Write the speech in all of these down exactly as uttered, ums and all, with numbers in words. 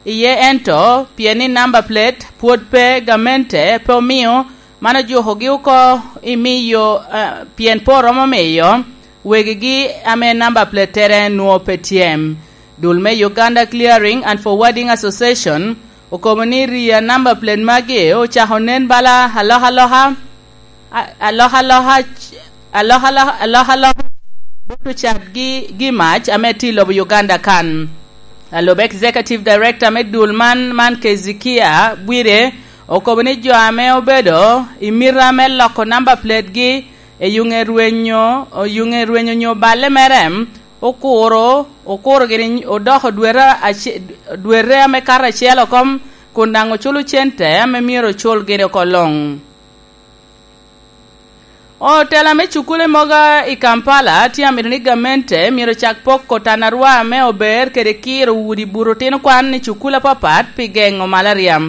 iye ento pien ni namba plate pwod pe, gamente pe omio, man ojukogi oko i miyo, eh, pien pe oromo miyo wegigi ame namba platere nwo pe tye. Dul me Uganda Clearing and Forwarding Association okobo ni rii a namba plate magi ocako nen bala alokaloka, a-, alokaloka, alokaloka, alokaloka bot ocat gi, gi mac ame tye i lobo Uganda kan. Alub Executive Director me dul man, man Kezikia Bwire, okobo ni jo ame obedo i mita me loko namba plategi, eyuŋe rwenyo, oyuŋe rwenyo nyo balle mere, okuro, okuro gini odoko dwete ace-, dwete ame kato acel oko, kun daŋ oculo cente ame myero ocul gini oko luŋ. Otela me cukule mogo i Kampala tye amito ni gamente myero cak poko tanarwa me ober kede kiro udi buto otino kwan i cukule apapat pi geŋo malaria.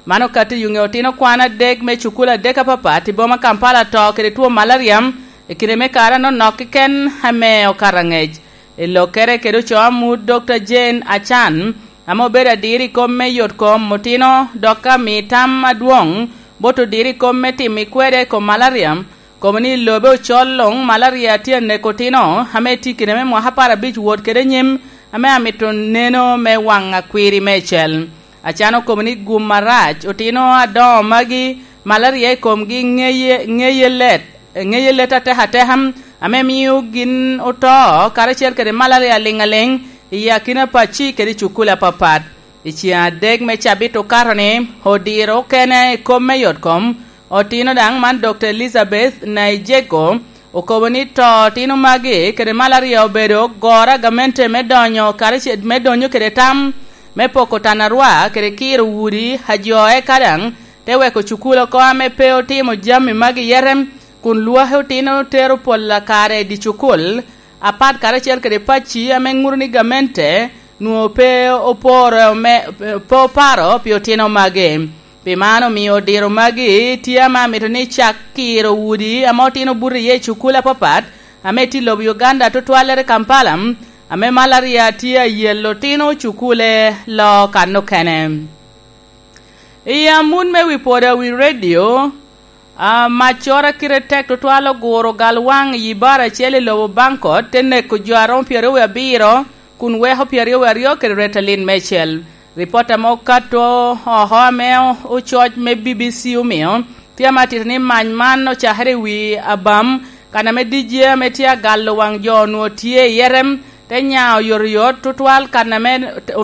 Man okato i yuŋe otino kwan adek me cukule adek apapat i boma Kampala to kede two malaria i kine me kare anonok keken ame okato aŋec. I lokkere kede ocoo amut Dokta Jane Achan, ame obedo adiro i kom me yot kom otino, dok ka mi tam adwoŋ bot odiro i kom me timo i kwede i kom malaria, kobo ni i lobe ocol luŋ malaria tye aneko otino ame tye i kine me mwaka apar abic wot kede nyim, ame amito neno me waŋ akwiri meicel. Acano kobo ni gum arac otino adoŋo magi, malaria i komgi ŋeye, ŋeye let, ŋeye let atek ateka, ame mio gin oto karacel kede malaria liŋ aliŋ i akina pacci kede i cukule apapat. I ceŋ adek me cabit okato-ni, odiro okene i kom me yot kom, otino daŋ man Dokta Elizabeth Naijego, okobo ni to otino magi kede malaria obedo goro a gamente me donyo karacel, me donyo kede tam me poko tanarwa kede kiro udi a jo, eka daŋ te weko cukul oko ame pe otimo jami magi yete, kun lwaki otino tero pol a kare i dye cukul, apat karacel kede pacci ame ŋuto ni gamente nwoŋo pe oporo me, pe oparo pi otino magi. Pi man omio odiro magi tye ame amito ni cak kiro udi ame otino buto iye i cukul apapat ame tye i lobo Uganda, tutwallere Kampala, ame malaria tye ayelo otino cukule lo kan okene. I amut me wi pwod a wi redio, a, maccoro a kite tek tutwal oguro galwaŋ i yi bar acel i lobo Bankot, te neko jo a romo pyeraryo wie abiro, kun weko pyeraryo wie aryo kede retalin meicel. Ripot ame okato oko ame ococ me B B C omio, tye ame atito ni mac man ocakere i wi abam, kan ame D J ame tye agalo waŋ jo onwoŋo tye i yete, te nya oyotoyot tutwal kan ame